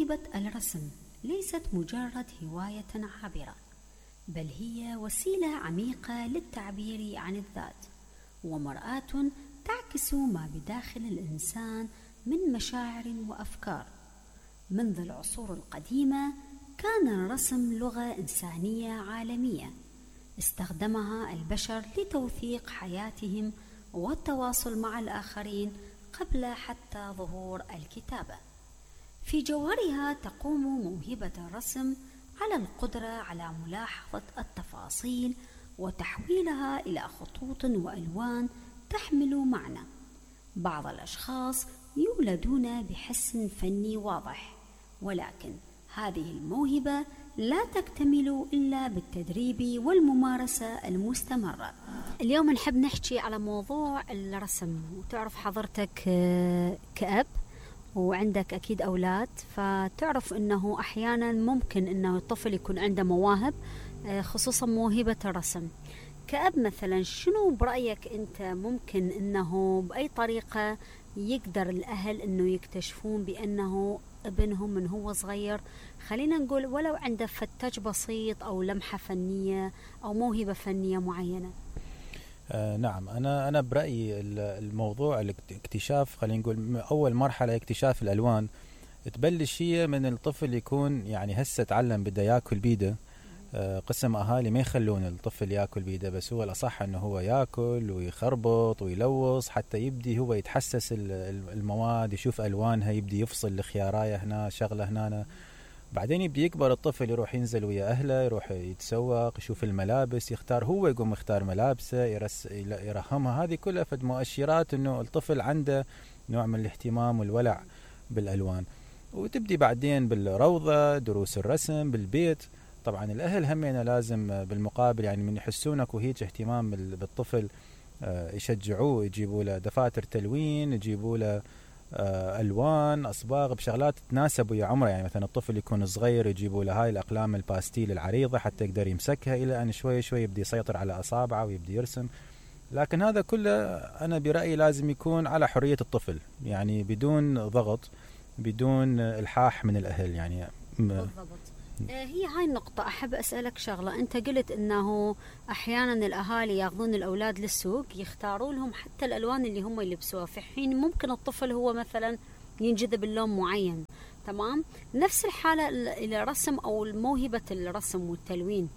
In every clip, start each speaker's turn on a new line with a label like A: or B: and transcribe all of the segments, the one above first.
A: موهبة الرسم ليست مجرد هواية عابرة، بل هي وسيلة عميقة للتعبير عن الذات، ومرآة تعكس ما بداخل الإنسان من مشاعر وأفكار. منذ العصور القديمة كان الرسم لغة إنسانية عالمية استخدمها البشر لتوثيق حياتهم والتواصل مع الآخرين قبل حتى ظهور الكتابة. في جوهرها تقوم موهبة الرسم على القدرة على ملاحظة التفاصيل وتحويلها إلى خطوط وألوان تحمل معنى. بعض الأشخاص يولدون بحس فني واضح، ولكن هذه الموهبة لا تكتمل إلا بالتدريب والممارسة المستمرة. اليوم نحب نحكي على موضوع الرسم. وتعرف حضرتك كأب وعندك أكيد أولاد، فتعرف أنه أحيانا ممكن أنه الطفل يكون عنده مواهب، خصوصا موهبة الرسم. كأب مثلا شنو برأيك أنت ممكن أنه بأي طريقة يقدر الأهل أنه يكتشفون بأنه ابنهم من هو صغير، خلينا نقول ولو عنده فتاج بسيط أو لمحة فنية أو موهبة فنية معينة؟
B: نعم، أنا برأيي الموضوع الاكتشاف، خلينا نقول أول مرحلة اكتشاف الألوان تبلش هي من الطفل يكون يعني هسه تعلم بده ياكل بيده. قسم أهالي ما يخلون الطفل ياكل بيده، بس هو الأصح أنه هو ياكل ويخربط ويلوص حتى يبدي هو يتحسس المواد، يشوف ألوانها، يبدي يفصل الخياراية هنا شغلة هنا. بعدين يبدي يكبر الطفل، يروح ينزل ويا أهله، يروح يتسوق، يشوف الملابس، يختار، هو يقوم يختار ملابسه، يرهمها. هذه كلها فد مؤشرات أنه الطفل عنده نوع من الاهتمام والولع بالألوان. وتبدي بعدين بالروضة، دروس الرسم بالبيت. طبعا الأهل همينة لازم بالمقابل يعني من يحسونك وهيج اهتمام بالطفل يشجعوه، يجيبوا له دفاتر تلوين، يجيبوا له ألوان، أصباغ بشغلات تناسب ويا عمره. يعني مثلا الطفل يكون صغير يجيبوا له هاي الأقلام الباستيل العريضة حتى يقدر يمسكها، إلى أن شوي شوي يبدي يسيطر على أصابعه ويبدي يرسم. لكن هذا كله أنا برأيي لازم يكون على حرية الطفل، يعني بدون ضغط، بدون إلحاح من الأهل يعني.
A: بالضبط. هي هاي النقطة أحب أسألك شغلة. أنت قلت أنه أحيانا الأهالي يأخذون الأولاد للسوق، يختاروا لهم حتى الألوان اللي هم يلبسوها، في حين ممكن الطفل هو مثلا ينجذب اللون معين. تمام. نفس الحالة الرسم أو موهبة الرسم والتلوين،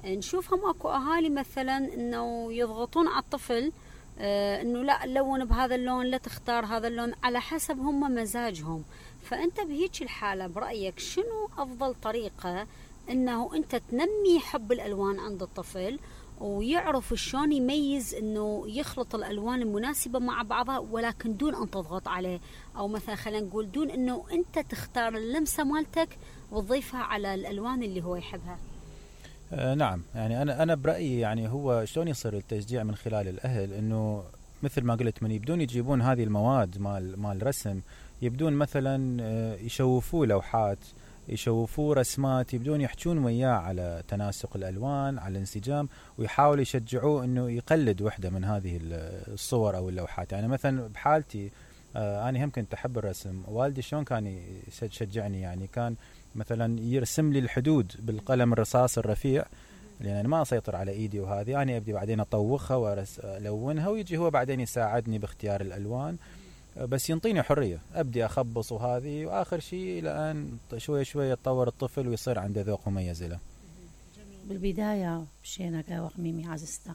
A: نشوفهم أكو أهالي مثلا أنه يضغطون على الطفل أنه لا لون بهذا اللون، لا تختار هذا اللون، على حسب هم مزاجهم. فأنت بهيك الحالة برأيك شنو أفضل طريقة أنه أنت تنمي حب الألوان عند الطفل ويعرف شلون يميز أنه يخلط الألوان المناسبة مع بعضها، ولكن دون أن تضغط عليه، أو مثلا خلينا نقول دون أنه أنت تختار اللمسة مالتك وتضيفها على الألوان اللي هو يحبها؟
B: نعم، يعني أنا برأيي يعني هو شلون يصير التشجيع من خلال الأهل، إنه مثل ما قلت من يبدون يجيبون هذه المواد مال رسم، يبدون مثلا يشوفوا لوحات، يشوفوا رسمات، يبدون يحجون وياه على تناسق الألوان، على الانسجام، ويحاولوا يشجعوه إنه يقلد وحدة من هذه الصور أو اللوحات. يعني مثلا بحالتي أنا هم كنت أحب الرسم، والدي شلون كان يشجعني، يعني كان مثلا يرسم لي الحدود بالقلم الرصاص الرفيع، لأن أنا ما أسيطر على إيدي، وهذه أنا أبدي بعدين أطوخها وألونها، ويجي هو بعدين يساعدني باختيار الألوان، بس ينطيني حرية، أبدي أخبص وهذه، وآخر شيء إلى أن شوي شوي يتطور الطفل ويصير عنده ذوق مميز له.
C: بالبداية بشينا قهوة ميمي عزيزتا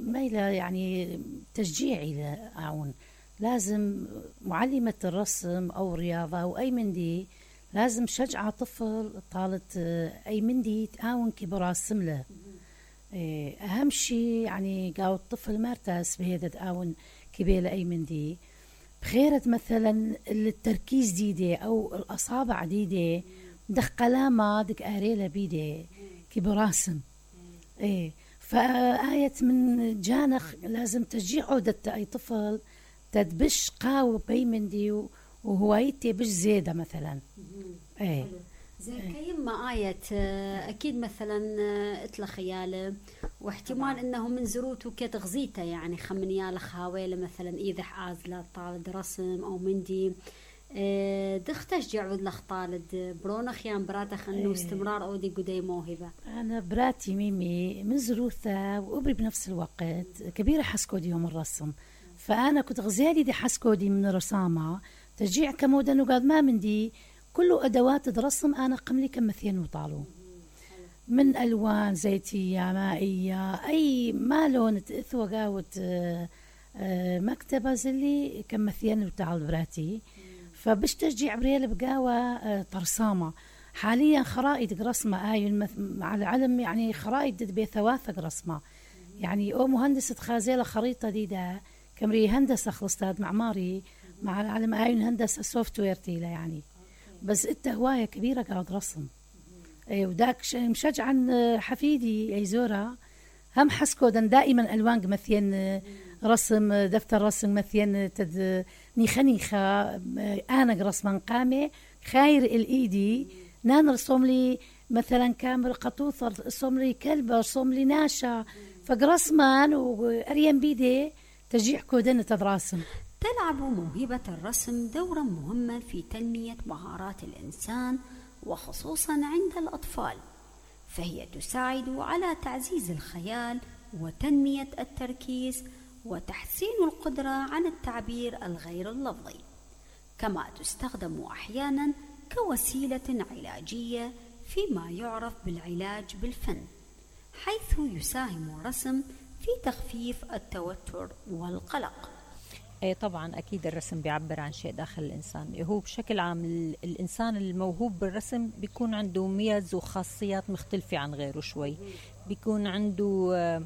C: ميلة يعني تشجيعي لأعون، لازم معلمة الرسم أو الرياضة أو أي مندي لازم شجع طفل طالت أي مندي تعاون كي براسم له. أهم شيء يعني قاو الطفل ما ارتاس بهذا تعاون كبيرة أي مندي بخيرة مثلا التركيز ديدي أو الأصابع ديدي دخ قلامة دك أريلة بيدي كي براسم. فآية من جانخ لازم تشجيع عودة أي طفل تدبش قاو بأي مندي وهوايتي بش زيادة مثلا.
A: زي كيما آية أكيد مثلا اتلا خياله واحتمال إنه من زروته كتغزيته، يعني خمنياله خاويله مثلا إذا عازلة طالد رسم أو مندي دختشجع ودلخ طالد برونخ يان براتخ انه استمرار اودي قدي موهبة.
C: انا براتي ميمي من زروثة وابري بنفس الوقت كبيرة حسكودي يوم الرسم، فانا كنت غزالي دي حسكودي من رسامة تشجيع كمودة انه قال ما من دي كله ادوات الرسم انا قملي كمثين وطالو من الوان زيتية مائية اي ما لون تاثوى قاوت مكتبة زلي كمثين وطال براتي، فبش تشجيع بريال بقاوة طرسامة حاليا خرائط رسمة مع العلم يعني خرائط بثواثق رسمة يعني او مهندسة خازيلة خريطة دي ده كمري هندسة خلصتاد معماري مع العلم هندسة سوفت وير تيلا يعني، بس انت هواية كبيرة قاعد رسم وداك مشجعا حفيدي اي زورة هم حسكودا دائما الوان مثين رسم دفتر رسم مثين نيخة انا رسما قامة خير الايدي نان رسم لي مثلا كامل قطوطة رسم لي كلبة رسم لي ناشا فقرسمان واريم بيدي تشجيع كودن تدراسم.
A: تلعب موهبة الرسم دورا مهما في تنمية مهارات الإنسان وخصوصا عند الأطفال، فهي تساعد على تعزيز الخيال وتنمية التركيز وتحسين القدرة على التعبير الغير اللفظي، كما تستخدم أحيانا كوسيلة علاجية فيما يعرف بالعلاج بالفن، حيث يساهم الرسم في تخفيف التوتر والقلق.
D: طبعا أكيد الرسم بيعبر عن شيء داخل الإنسان. هو بشكل عام الإنسان الموهوب بالرسم بيكون عنده ميز وخاصيات مختلفة عن غيره شوي، بيكون عنده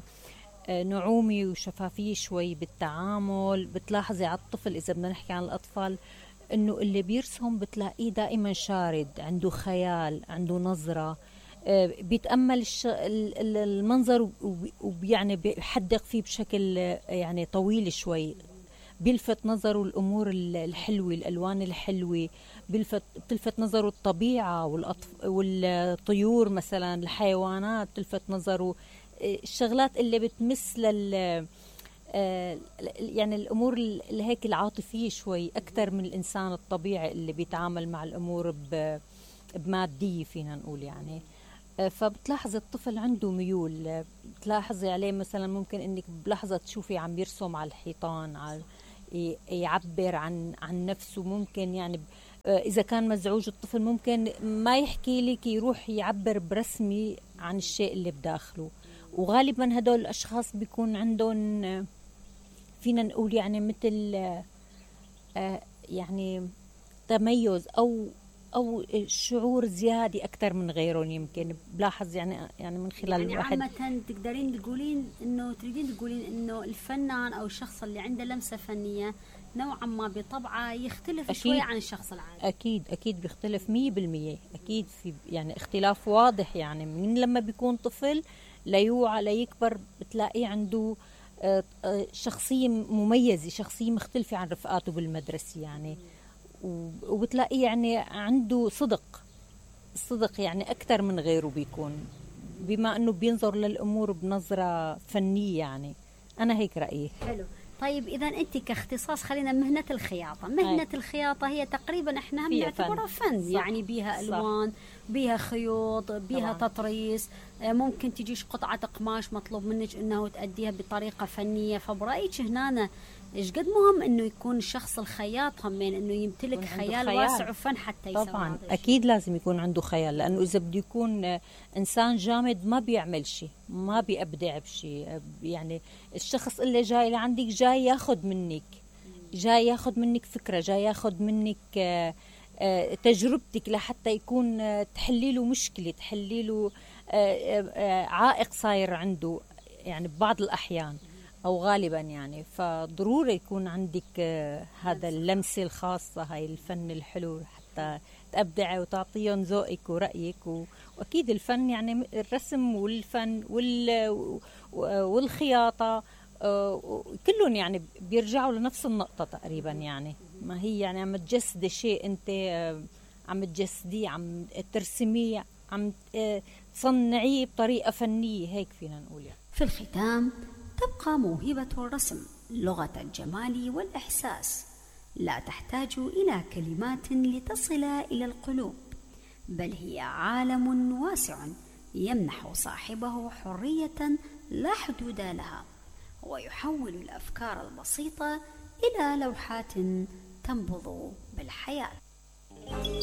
D: نعومة وشفافية شوي بالتعامل. بتلاحظي على الطفل إذا بدنا نحكي عن الأطفال إنه اللي بيرسم بتلاقيه دائما شارد، عنده خيال، عنده نظرة، بيتأمل المنظر ويعني بيحدق فيه بشكل يعني طويل شوي، بيلفت نظره الأمور الحلوة، الألوان الحلوة، بتلفت نظره الطبيعة والطيور مثلا، الحيوانات تلفت نظره، الشغلات اللي بتمس يعني الأمور اللي هيك العاطفية شوي أكثر من الإنسان الطبيعي اللي بيتعامل مع الأمور بمادية فينا نقول يعني. فبتلاحظ الطفل عنده ميول، بتلاحظي عليه مثلا ممكن انك بلحظة تشوفي عم يرسم على الحيطان، يعبر عن نفسه، ممكن يعني اذا كان مزعوج الطفل ممكن ما يحكي لك، يروح يعبر برسمي عن الشيء اللي بداخله. وغالبا هدول الاشخاص بيكون عندهم فينا نقول يعني مثل يعني تميز او شعور زيادة أكثر من غيرهم، يمكن بلاحظ يعني من خلال
A: يعني
D: الواحد.
A: عامة تقدرين تقولين إنه الفنان أو الشخص اللي عنده لمسة فنية نوعا ما بطبعه يختلف شوي عن الشخص العادي.
D: أكيد بيختلف 100%، أكيد في يعني اختلاف واضح، يعني من لما بيكون طفل ليوعى ليكبر بتلاقيه عنده شخصية مميزة، شخصية مختلفة عن رفقاته بالمدرسة يعني، وبتلاقيه يعني عنده صدق يعني أكثر من غيره بيكون، بما أنه بينظر للأمور بنظرة فنية يعني. أنا هيك رأيي.
A: حلو. طيب إذا أنت كاختصاص خلينا مهنة الخياطة. الخياطة هي تقريبا إحنا هم نعتبرها فن يعني بيها ألوان، بيها خيوط، بيها طبعا تطريز، ممكن تجيش قطعة قماش مطلوب منك إنه تأديها بطريقة فنية. فبرأيك هنا إيش قد مهم إنه يكون الشخص الخياط همين إنه يمتلك خيال واسع وفن حتى يسوي.
D: طبعا أكيد لازم يكون عنده خيال، لأنه إذا بده يكون إنسان جامد ما بيعمل شيء، ما بيبدع بشيء. يعني الشخص اللي جاي لعندك جاي ياخد منك فكرة، جاي ياخد منك تجربتك لحتى يكون تحلي له مشكلة، تحلي له عائق صاير عنده يعني ببعض الأحيان أو غالبا يعني. فضروري يكون عندك هذا اللمسة الخاصة، هاي الفن الحلو حتى تبدعي وتعطيهم ذوقك ورأيك. وأكيد الفن يعني الرسم والفن والخياطة كلهم يعني بيرجعوا لنفس النقطة تقريبا يعني. ما هي يعني عم تجسدي شيء، أنت عم تجسديه، عم ترسميه، عم تصنعيه بطريقة فنية، هيك فينا نقول يعني.
A: في الختام تبقى موهبة الرسم لغة الجمال والإحساس لا تحتاج إلى كلمات لتصل إلى القلوب، بل هي عالم واسع يمنح صاحبه حرية لا حدود لها، ويحول الأفكار البسيطة إلى لوحات تنبض بالحياة.